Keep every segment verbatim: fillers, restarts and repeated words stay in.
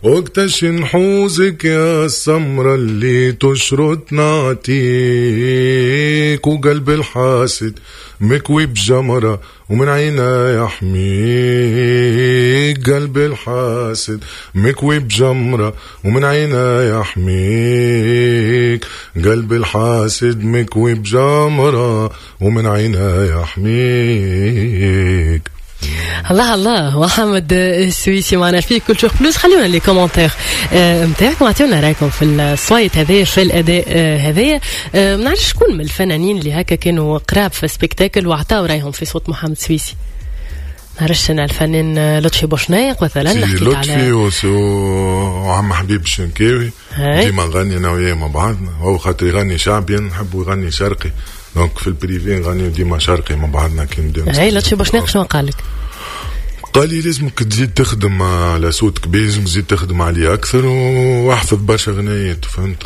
وقتاش نحوزك يا السمرة اللي تشرط نعطيك، وقلب الحاسد مكوي بجمرة ومن عينا يحميك، قلب الحاسد مكوي بجمرة ومن عينا يحميك، قلب الحاسد مكوي بجمرة ومن عينا يحميك. الله الله، محمد السويسي معنا في Culture Plus. خليونا les commentaires نتاعكم، اعطيونا رايكم في الصويت هذايا، في الاداء هذايا. ما نعرفش شكون من الفنانين اللي هكا كانوا قراب في spectacle وعطاو رايهم في صوت محمد السويسي. نعرفش انا، الفنان لطفي بوشناق مثلا. حكيت لطفي وعم حبيب الشنكاوي، ديما نغني انا وياه مع بعضنا. هو خاطر يغني شعبي، نحبه يغني شرقي، donc في ال privé نغني ديما شرقي مع بعضنا. كي نبداو. هاي لطفي بوشناق شنو قال لك؟ قال لي لازمك تزيد تخدم على صوتك بيه، لازمك تزيد تخدم عليه اكثر واحفظ برشا غنايات، فهمت؟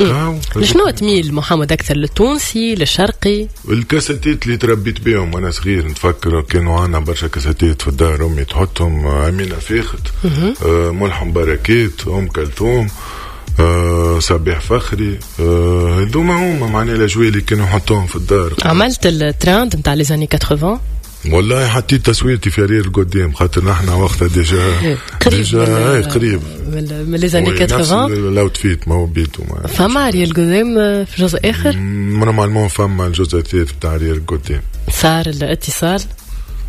شنو تميل محمد اكثر، للتونسي، للشرقي؟ الكاساتيت اللي تربيت بهم وانا صغير، نتفكر كانوا عندنا برشا كاساتيت في الدار، امي تحطهم امينه فاخت، آه ملحم بركات، ام كلثوم، آه صبيح فخري، آه هذوما هما معناها الاجواء اللي كانوا يحطوهم في الدار. عملت التراند نتاع les années ثمانين؟ والله حطيت تصويرتي في arrière القدام، خاطر نحن وقتها déjà قريب déjà قريب من les années ثمانين. l'outfit ما هو بيتو. فما arrière القدام في جزء اخر؟ normalement فما الجزء الثالث بتاع arrière القدام. صار الاتصال؟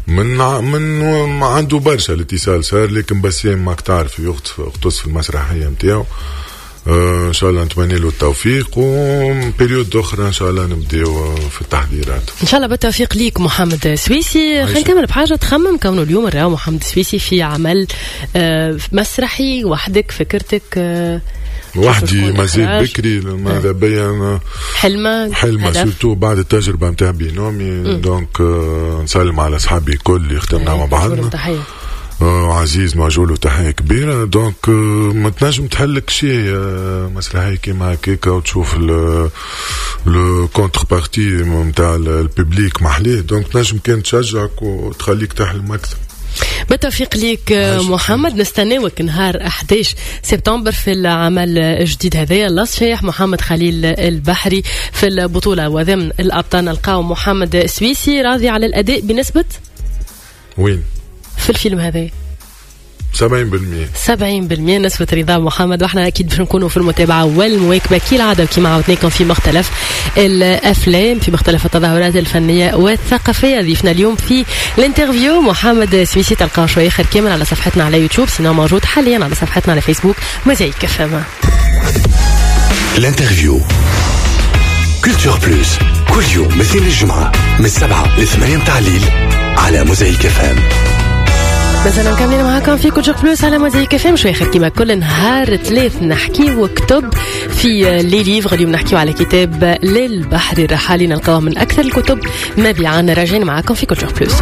من من ما عنده برشا الاتصال صار، لكن بسام ماك تعرف يغطس في المسرحية نتاعو. آه ان شاء الله نتمنى له التوفيق، و période اخرى ان شاء الله نبداو في التحضيرات. ان شاء الله بالتوفيق ليك محمد سويسي. خلينا نكمل بحاجه، تخمم كونه اليوم راهو محمد سويسي في عمل آه مسرحي وحدك، فكرتك آه وحدي مازال بكري، ماذا بيا حلمة حلمة surtout بعد التجربة نتاع بينومي. donc آه نسلم على اصحابي الكل اللي خدمنا مع بعضنا. تحية عزيز نوجه له تحية كبيرة. donc ما تنجم تحلك شيء مسرحية كيما هكاكا وتشوف le contrepartie نتاع ال public محليه، donc تنجم كان تشجعك وتخليك تحلم اكثر. بالتوفيق ليك محمد، نستناوك نهار أحد عشر سبتمبر في العمل الجديد هذايا اللص شايح، محمد خليل البحري في البطولة، وضمن الأبطال نلقاو محمد السويسي. راضي على الأداء بنسبة؟ وين؟ في الفيلم هذا؟ سبعين بالمية. سبعين بالمية نسبة رضا محمد، واحنا اكيد باش نكونوا في المتابعة والمواكبة كالعادة كما عودناكم في مختلف الافلام، في مختلف التظاهرات الفنية والثقافية. ضيفنا اليوم في l'interview محمد سويسي، تلقاه شوية اخر كامل على صفحتنا على يوتيوب، sinon موجود حاليا على صفحتنا على فيسبوك موزايك اف ام. l'interview Culture Plus، كل يوم من اثنين للجمعة من السبعة لثمانية متاع الليل على موزايك اف ام. مازلنا مكملين معاكم في Culture Plus على موزايك اف ام. شوي اخر كيما كل نهار ثلاث نحكيو كتب في les livres. اليوم نحكيو على كتاب للبحري الرحالي، نلقاوه من اكثر الكتب مبيعا. راجعين معاكم في Culture Plus.